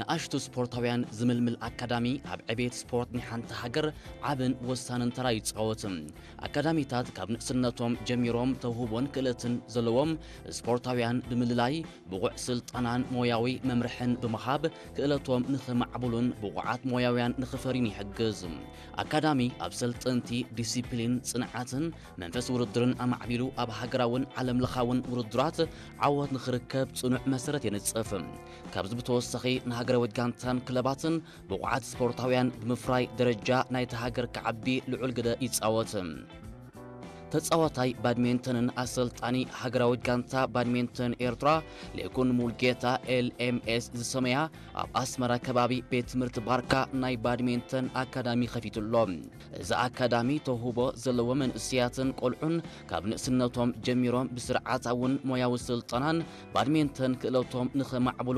ንኣሽቱ ስፖርታውያን ዝምልምል ኣካዳሚ ኣብ ዕቤት ስፖርት ናይ ሓንቲ ሃገር ዓብን ወሳንን ተራ ይጻወት። ኣካዳሚታት ካብ ንእስነቶም ጀሚሮም ተውህቦን ክእለትን ዘለዎም ስፖርታውያን ብምልላይ፣ ብቑዕ ስልጠናን ሞያዊ መምርሕን ብምሃብ፣ ክእለቶም ንኽማዕብሉን ብቑዓት ሞያውያን ንኽፈርዩን ይሕግዝ። ኣካዳሚ ኣብ ሰልጠንቲ ዲሲፕሊን፣ ጽንዓትን መንፈስ ውድድርን ኣማዕቢሉ፣ ኣብ ሃገራውን ዓለምለኻውን ውድድራት ዓወት ንኽርከብ ጽኑዕ መሰረት የንጽፍ። ካብዚ ብተወሳኺ፣ ንሃገራዊት ጋንታን ክለባትን ብቑዓት ስፖርታውያን ብምፍራይ፣ ደረጃ ናይታ ሃገር ክዓቢ ልዑል ግደ ይጻወት። ተጻዋታይ ባድሜንተንን ኣሰልጣኒ ሃገራዊት ጋንታ ባድሜንተን ኤርትራ፣ ሌኩን ሙልጌታ፣ ኤልኤምኤስ ዝሰመያ፣ ኣብ ኣስመራ ከባቢ ቤት ትምህርቲ ባርካ ናይ ባድሜንተን ኣካዳሚ ከፊቱ ኣሎ። እዚ ኣካዳሚ ተውህቦ ዘለዎ መንእሰያትን ቆልዑን ካብ ንእስነቶም ጀሚሮም ብስርዓታውን ሞያዊ ስልጠናን ባድሜንተን ክእለቶም ንኸማዕብሉ